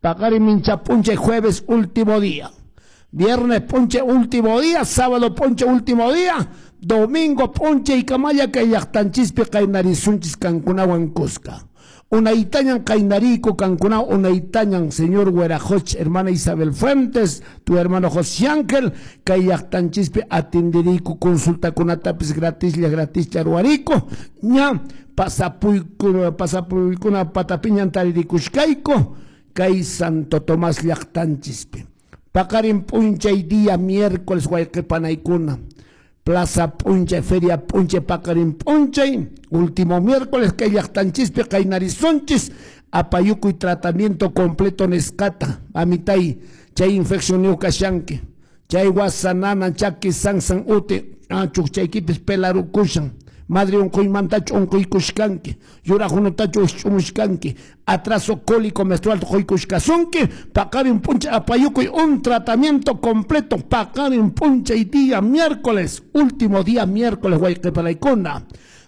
Paqarin mincha p'unchay jueves último día. Viernes p'unchay último día, sábado p'unchay último día, domingo p'unchay kamalla kay llaqtanchispi qaynarisunchis kankunawan kuska. Unaytañan qaynariyku kankuna unaytañan señor Huerajoch, hermana Isabel Fuentes, tu hermano José Ángel, kay llaqtanchispi atenderiyku consultakunatapis gratislla gratislla ruwariyku, ña pasapuykuna patapiñan taririkushkayku kay Santo Tomás llaqtanchispi. Paqarin p'unchay día miércoles wayqipanaykuna. Plaza p'unchay, feria p'unchay, paqarin p'unchay, último miércoles kay llaqtanchispi qaynarisunchis, apayukuy tratamiento completo nisqata, amitay, chay infección kashanki, chay wasanana chaki sansan uti, chukchaykipis pelarukushan, madre unquymantachu unquykushkanki, yuraqunutachu ushch'umushkanki, atraso cólico menstrual quykushkasunki, paqarin p'unchay apayukuy un tratamiento completo, paqarin p'unchay día miércoles, último día miércoles wayqipanaykuna,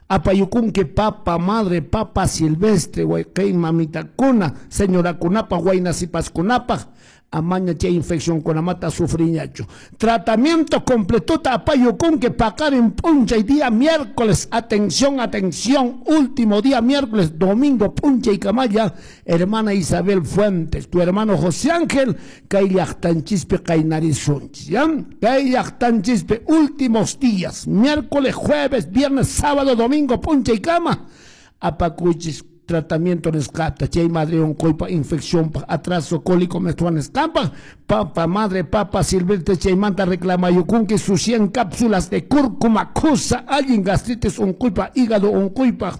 apayukunki papa madre, papa silvestre, wayqi mamitakuna, señorakunapaq, wayna sipaskunapaq, amaña chay infección kunamata sufriñachu. Tratamiento completota apayukunki paqarin p'unchay día miércoles, atención, atención, último día miércoles, domingo p'unchay kamalla, hermana Isabel Fuentes, tu hermano José Ángel, kay llaqtanchispi qaynarisunchis, ¿ya? Kay llaqtanchispi últimos días, miércoles, jueves, viernes, sábado, domingo, p'unchay kama, apakuchis tratamiento nisqata, chay madre unquypa infección pa atraso cólico menstrual nisqanpaq, papa madre, papa silvestre chaymanta reclamayukunki sus 100 cápsulas de cúrcuma kusa allin gastritis unquypa hígado unquypaq,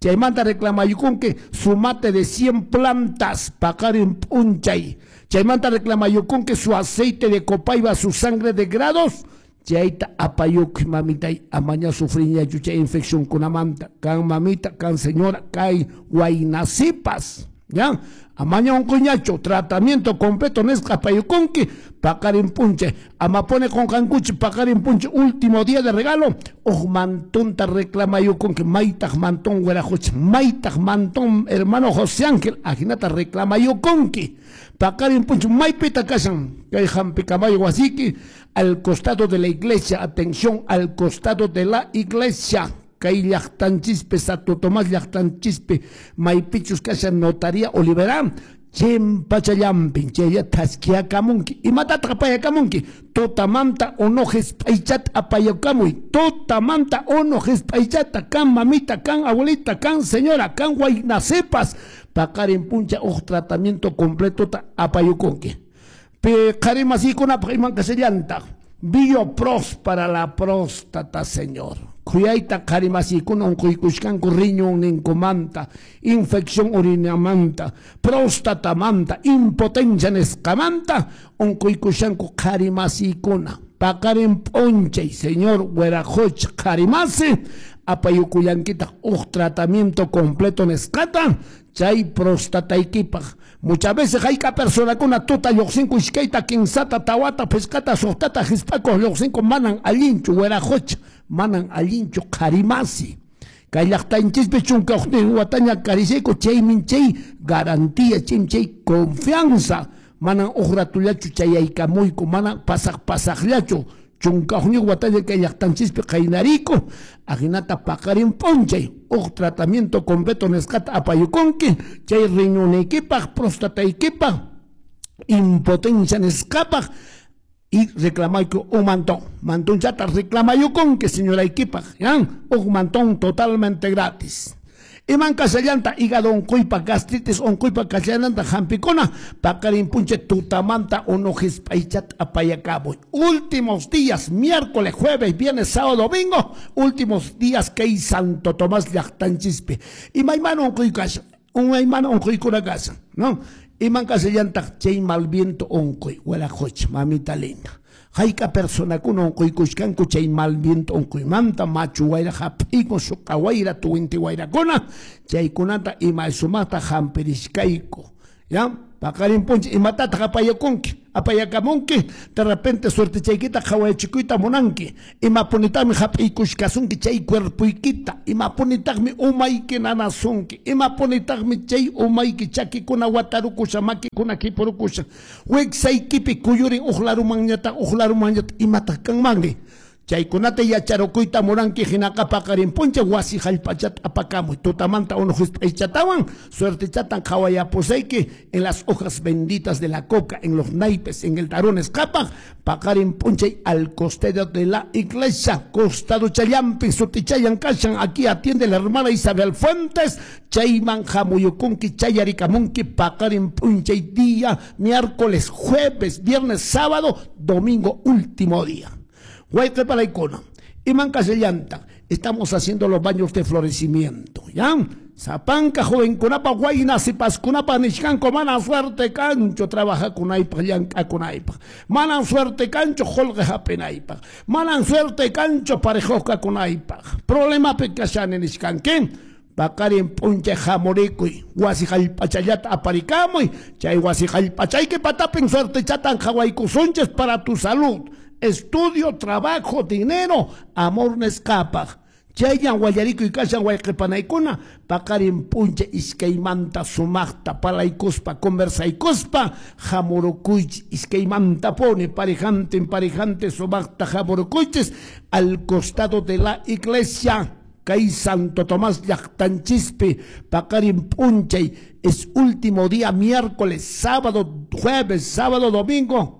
chaymanta reclamayukunki su mate de 100 plantas paqarin p'unchay, chaymanta reclamayukunki su aceite de copaiba, su sangre de grados, chayta apayukuy mamitay, amaña sufriñachu chay infección kunamanta, kan mamita, kan señora, kay waynasipas, ya, amaña unquyñachu, tratamiento completo nisqa apayukunki, paqarin p'unchay, amapone qunqankuchi, paqarin p'unchay, último día de regalo, uj mantonta reclamayukunki, maytaq mantón wiraqucha, maytaq mantón hermano José Ángel, ajinata reclamayukunki, paqarin p'unchay, maypita kashan, kay hampikamayo wasiki, al costado de la iglesia, atención, al costado de la iglesia, kay llaqtanchispi, Santo Tomás llaqtanchispi, maypichus kashan notaría Olivera, chimpachallampin, chaylla thaskiakamunki, imatataq apayakamunki, tutamanta unu hisp'aychata apayakamuy, tutamanta unu hisp'aychata, kan mamita, kan abuelita, kan señora, kan waynasipas, paqarin p'unchay uj tratamiento completota apayukunki. Qharimasiykunapaq iman kashallantaq, Biopros para la próstata, señor. Khuyayta qharimasiykuna unquykushkanku riñonninkumanta, infección urinamanta, próstatamanta, impotencia nisqamanta, unquykushanku qharimasiykuna. Paqarin p'unchay, señor Huerajoch qharimasi, apayukullankitaq uj tratamiento completo nisqata, chay prostataykipaq. Muchas veces hayka personakuna tuta lluqsinku iskayta, kinsata, tawata, phisqata, suqtata, hisp'akuq lluqsinku, manan allinchu Huerajoch, manan allinchu qharimasi. Kay llaqtanchispi chunka huknin wataña karishayku, chaymin chay garantía, chaymi chay confianza, manan uj ratullachu chayaykamuyku, manan pasaq pasaqllachu, chunka huknin wataña kay llaqtanchispi qaynariyku, ajinata paqarin p'unchay, uj tratamiento completo nisqata apayukunki, chay riñonaykipaq, prostataykipaq, impotencia nisqapaq, y reclamayku un mantón, mantonchata reclamayukunki señoraykipaq, ¿ya? Un mantón totalmente gratis. Iman kashallanta hígado unquypa, gastritis unquypa kashallanta hampikuna, paqarin p'unchay tutamanta unu hisp'aychata apayakamuy. Últimos días, miércoles, jueves, viernes, sábado, domingo, últimos días kay Santo Tomás llaqtanchispi. Imaymana unquy kashan, umaymana unquykuna kashan, ¿no? Iman kashallantaq chay mal viento unquy, wiraqucha, mamita linda. Hayka personakuna unquykushkanku chay mal viento unquymanta, machu wayra hap'ikun, suqa wayra, tuwinti wayrakuna, chaykunata ima sumaqta hampirishkayku, ¿ya? Paqarin p'unchay imatataq apayakunki, apayakamunki? De repente suertechaykita qhawayachikuyta munanki. Imapunitaqmi hap'iykushkasunki chay cuerpoykita, imapunitaqmi umayki nanasunki, imapunitaqmi chay umayki chakikuna watarukusha, makikuna khipurukusha, wiksaykipi kuyurin uq larumanñataq, uq larumanñataq, imataq kanmanri? Chaykunata yacharukuyta munanki hinaqa paqarin p'unchay wasi hallp'achata apakamuy, tutamanta unu hisp'aychatawan suertechatan qhawayapusayki en las hojas benditas de la coca, en los naipes, en el tarón nisqapaq, paqarin p'unchay al costado de la iglesia, costado challampi sutichayan kashan, aquí atiende la hermana Isabel Fuentes, chayman hamuyukunki, chayarikamunki paqarin p'unchay día, miércoles, jueves, viernes, sábado, domingo, último día. Wayqe panaykuna, iman kashallanta, estamos haciendo los baños de florecimiento, ¿ya? Sapanka jovenkunapa wayna sipaskunapa nishkanku mana suerte kanchu trabajakunaypaq, llank'akunaypaq, manan suerte kanchu qullqi hap'inaypaq, manan suerte kanchu parejuqkakunaypaq, problemapi kashani nishkanki. Paqarin p'unchay hamurikuy, wasi hallp'achallata aparikamuy, chay wasi hallp'achayki patapin suertechatan qhawaykusunchis para tu salud, estudio, trabajo, dinero, amor nisqapaq. Chayllan wallarikuy kashan wayqe panaykuna, paqarin p'unchay iskaymanta sumaqta palaykuspa, conversaykuspa, hamurukuychis iskaymantapuni parejantin parejantin sumaqta hamurukuychis al costado de la iglesia. Kay Santo Tomás llaqtanchispi paqarin p'unchay es último día, miércoles, sábado, jueves, sábado, domingo.